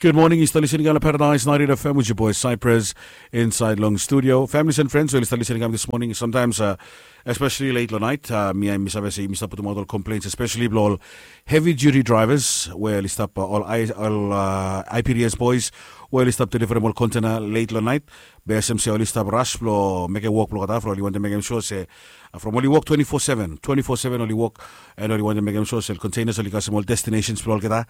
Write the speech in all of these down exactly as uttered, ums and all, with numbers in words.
Gud moning, yu stap lisin i kam long Paradise ninety-eight F M with your boy Cypress inside long studio. Families and friends we oli stap lisin i kam this morning, sometimes uh, especially late long night, uh, mi mi save se yumi stap putumaot ol complaints, especially blong ol heavy duty drivers we oli stap uh, ol, I, ol uh, I P D S boys we oli stap deliverim ol container late long night. Be olsem se oli stap rush blong mekem wok blong olgeta from oli wantem mekem sure se uh, from oli wok twenty-four seven, twenty-four seven oli wok, and oli wantem mekem sure se containers oli kasem ol destinations blong olgeta.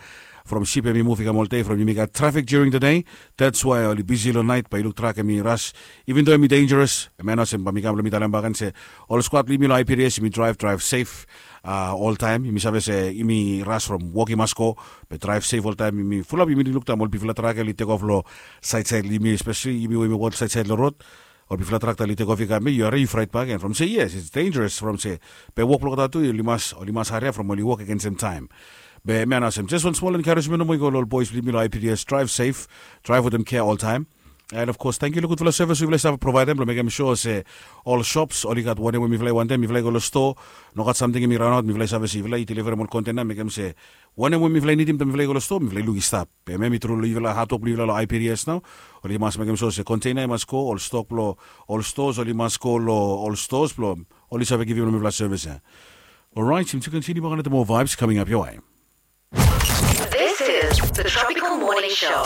From ship hemi muv i kam oltaem, from yumi gat traffic during the day. That's why oli bisi long night, bae yu luk trak hemi rush. Even though hemi dangerous, man, olsem bae mi kam blong mi talem bak gen se ol squad blong yumi long I P D S, yumi drive, drive safe uh, oltaem. Yumi save se yumi rush from wok i mas go, be drive safe oltaem. Yumi fulap, yumi luk taem ol bigfala trak oli tek of long saed saed long yumi, especially yumi we yumi wok saed saed long rod. Ol bigfala trak oli tek of i kam, yu harim, yu fraet bakegen from se yes, it's dangerous from se be wok blong olgeta tu oli mas, oli mas hariap from oli wok i go sem taem. Be mi wan olsem, just wan smol encouragement nomo i go long ol boys blong yumi long I P D S, drive safe, drive wetem kea oltaem. And of course, tangkiu long gudfala service we yufala i save provaedem blong mekem sure se ol shops oli gat wanem we mifala i wantem. Mifala i go long stoa, nogat samting hemi raonaot, mifala i save se yufala i deliverim ol container, mekem se wanem we mifala i nidim taem mifala i go long stoa, mifala i luk i stap. Be hemia hemi tru long yufala, hatwok blong yufala long I P D S nao. Oli mas mekem sure se container i mas go, ol stok blong ol stores oli mas go long ol stores blong oli save givim long mifala service ia. Alright, yumi tu kontiniu bak long more vibes coming up your way. This is the Tropical Morning Show.